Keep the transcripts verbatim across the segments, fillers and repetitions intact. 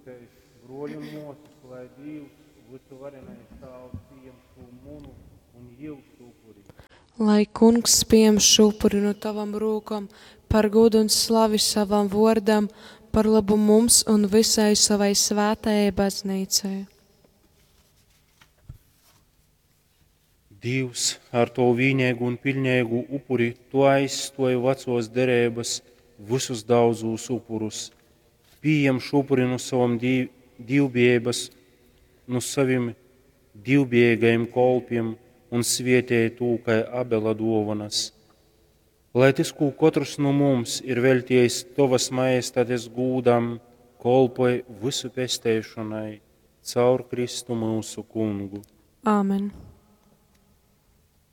Lyugsimtēs, bruoļi un muosys, lai Dīvs, vysuvarenais Tāvs, pījem šū munu un jiusu upuri. Lai Kungs pījem šū upuri nu tavom rūkom par gūdu un slavi savam vuordam, par lobu mums un vysai sovai svātajai Bazneicai. Dīvs, ar tovu vīneigu un piļneigu upuri tu aizstuoji vacuos dereibys vysus daudzūs upurus. Pījem šū upuri nu sovom dīv, dīvbijeibys, nu sovim dīvbijeigajim kolpim un svietej tū kai Abela duovonys. Lai tys, kū kotrs nu mums ir veļtiejs tovys majestates gūdam, kolpoj vysu pesteišonai caur Kristu myusu Kungu. Āmen.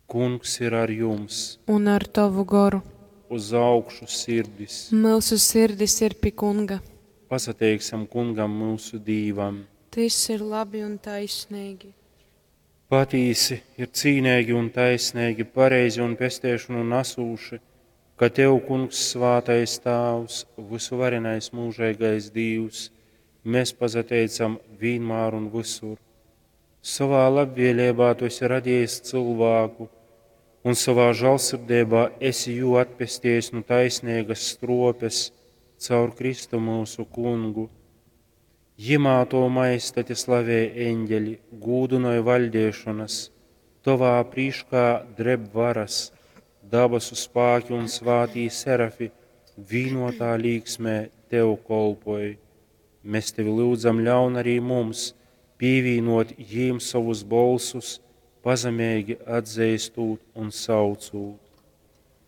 Kungs ir ar jums! Un ar tovu goru. Uz augšu sirdis! Myusu sirdis ir pi Kunga. Pasateiksim Kungam, myusu Dīvam! Tys ir labi un taisneigi. Patīsi ir cīneigi un taisneigi, pareizi un pesteišonu nasūši, ka tev, Kungs, svātais Tāvs, vysuvarenais myužeigais Dīvs, mēs pasateicam vīnmār un vysur. Sovā labvēleibā tu esi radījis cylvāku un sovā žālsirdeibā esi jū atpestejis nu taisneigas struopes caur Kristu myusu Kungu. Jimā tovu majestati slavej eņģeļi, gūdynoj vaļdeišonas, tovā prīškā dreb varas, dabasu spāki un svātī serafi vīnotā līksmē tev kolpoj. Mēs tevi lyudzam, ļaun arī mums pīvīnot jīm sovus bolsus, pazemeigi atzeistūt un saucūt.